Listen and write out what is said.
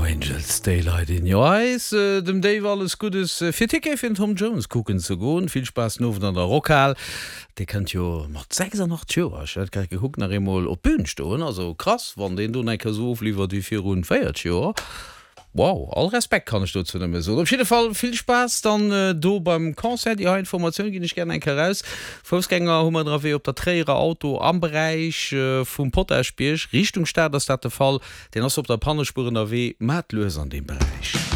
Angels, Daylight in Your Eyes. Dem Dave alles Guddes fir Ticket fir den Tom Jones kucken ze goen. Vill Spaass den Owend an der Rockhal. Dee kënnt jo mat 86 Joer, ech hat grad gekuckt, nach eemol op d'Bün stoen. Also krass, wann deen do nach eng Kéier esou ofliwwert wéi virun 40 Joer. Wow, all Respekt kann ech dozou nëmme soen. Op jidde Fall vill Spaass dann do beim Concert. Déi hei Informatioun ginn ech gären eng Kéier raus. Foussgänger hu mer ënnerwee op der Tréierer Auto am Beräich vum Potaschbierg. Richtung Stad ass dat de Fall. Deen ass op der Pannespuer ënnerwee. Maat lues an deem Beräich.